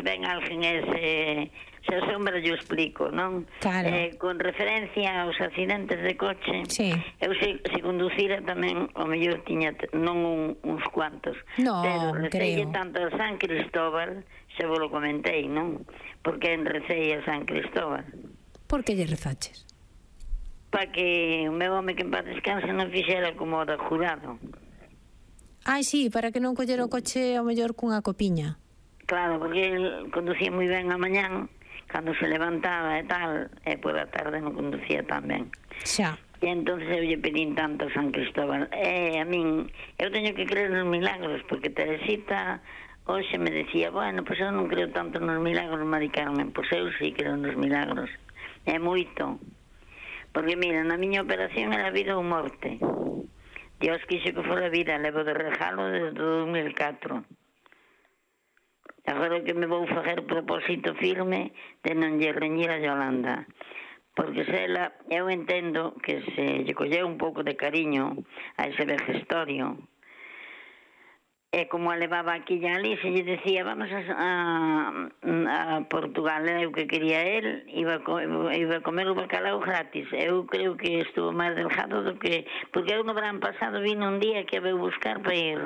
ven alguén se asombra, yo explico, non? Claro. Con referencia aos accidentes de coche, Sí. eu se conducira tamén, o mellor tiña non uns cuantos, No, pero recelle creo. tanto a San Cristóbal, xa vos lo comentei, non? Porque recei a San Cristóbal. Por que lle rezaches? Para que o meu home que en paz descanse non fixera como o da jurado. Ai, sí, para que non collera o coche ao mellor cunha copiña. Claro, porque el conducía moi ben a mañán, cando se levantaba e tal, e pola tarde non conducía tan ben. Xa. E entonces eu lle pedín tanto a San Cristóbal. A min, eu teño que creer nos milagros, porque Teresita hoxe me decía, bueno, pois eu non creo tanto nos milagros, Mari Carmen. Pois eu sí creo nos milagros. É moito. Porque, mira, na miña operación era vida ou morte. Dios quixo que fora vida, levo de regalo desde 2004. Agora que me vou facer propósito firme de non lle reñir a Yolanda. Porque se ela, eu entendo que se lle colleu un pouco de cariño a ese vejestorio, e como a levaba aquí e ali, se lle decía vamos a Portugal, eu que quería el, iba a comer o bacalao gratis. Eu creo que estuvo máis delgado do que... Porque eu no verán pasado vino un día que a veu buscar para ir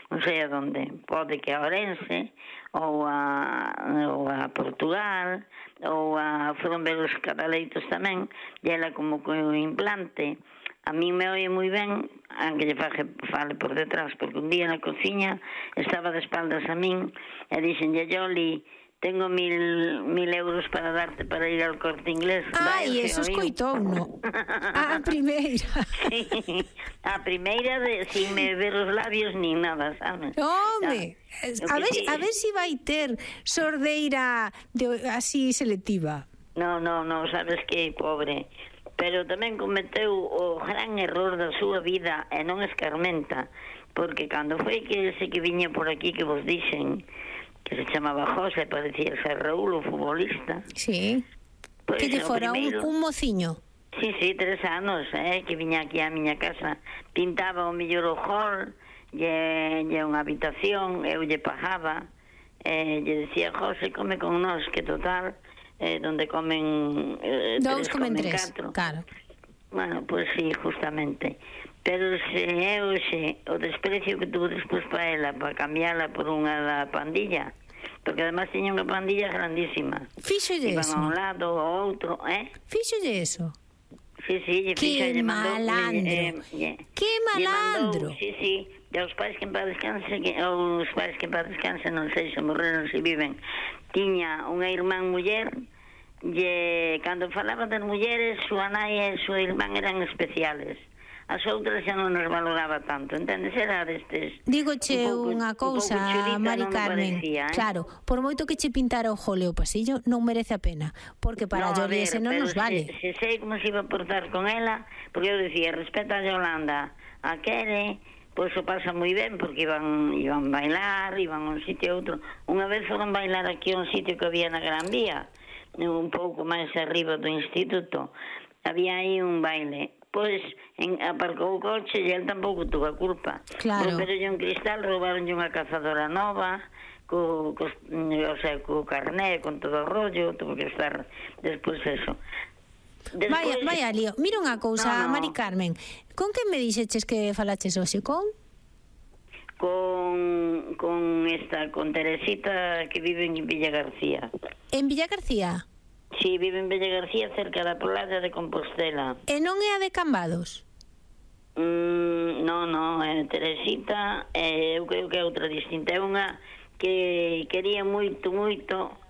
non sei a donde, pode que a Orense ou a Portugal ou a foron ver os cataleitos tamén, e ela como co implante a mí me oye moi ben, aunque lle fale por detrás, porque un día na cociña estaba de espaldas a min e dixenlle, Yoli, tengo 1.000 euros para darte para ir ao Corte Inglés. Ai, eso escoitou, no? A primeira. Sí, a primeira sin me ver os labios nin nada, sabes? Home, a ver si vai ter sordeira así selectiva. No, sabes que pobre. Pero tamén cometeu o gran error da súa vida e non escarmenta, porque cando foi que ese que viña por aquí que vos dixen que se chamaba José, parecía ser Raúl, o futbolista. Sí, pues que lle fora un mociño. Sí, 3 anos, que viña aquí á miña casa, pintaba o mellor o hall e unha habitación, eu lle pagaba, lle decía, José, come con nós, que total... donde comen 2 comen 3, claro. Bueno, pues sí, justamente. Pero o desprecio que tuvo despois para ela, para cambiarla por unha da pandilla, porque además tiña unha pandilla grandísima. Fíxolle eso. Iban a un lado ao outro, Fíxolle eso. Sí, lle malandro. Que malandro. Sí, e os pais que en paz descanse, os pais que en paz descanse, non sei se morreron, se viven, tiña unha irmán muller, e cando falaba das mulleres, súa nai e súa irmán eran especiales. As outras xa non nos valoraba tanto, entendes? Era destes... Dígoche unha cousa, Mari Carmen, claro, por moito que che pintara o jole o pasillo, non merece a pena, porque para a Yoli ese non nos vale. Se sei como se iba a portar con ela, porque eu dicía, respeta a Yolanda, a quere, pois o pasa moi ben, porque iban bailar, iban a un sitio a outro. Unha vez foron bailar aquí a un sitio que había na Gran Vía, un pouco máis arriba do instituto, había aí un baile. Pois aparcou o coche e el tampouco tuvo a culpa. Claro. Romperonlle un cristal, roubaronlle unha cazadora nova, co carné, con todo o rollo, tuvo que estar despois eso. Vaya lío. Mira unha cousa, Mari Carmen, con que me dixeches que falaches hoxe con? Con Teresita, que vive en Villa García. En Villa García? Sí, vive en Villa García, cerca da playa de Compostela. E non é a de Cambados? Non, Teresita, eu creo que é outra distinta. É unha que quería moito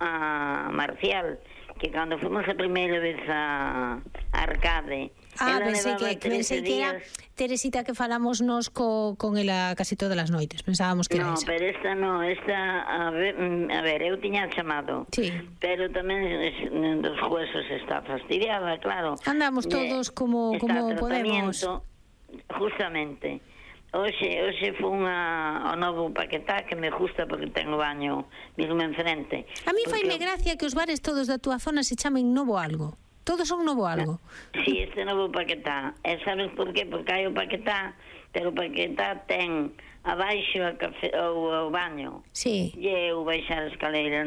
a Marcial, que cando fomos a primeira vez a Arcade, pensei que era Teresita que falamos nos con ela casi todas as noites. Pensábamos que era esa. No, pero esta a ver, eu tiña chamado. Sí. Pero tamén dos huesos está fastidiada, claro. Andamos todos como podemos. Justamente. Hoxe foi ao novo Paquetá, que me gusta porque ten o baño mesmo enfrente. A mí faime gracia que os bares todos da túa zona se chamen Novo Algo. Todos son Novo Algo. Sí, este novo Paquetá. E sabes por qué? Porque hai o Paquetá, pero o Paquetá ten abaixo o baño. Sí. E eu baixar a escaleira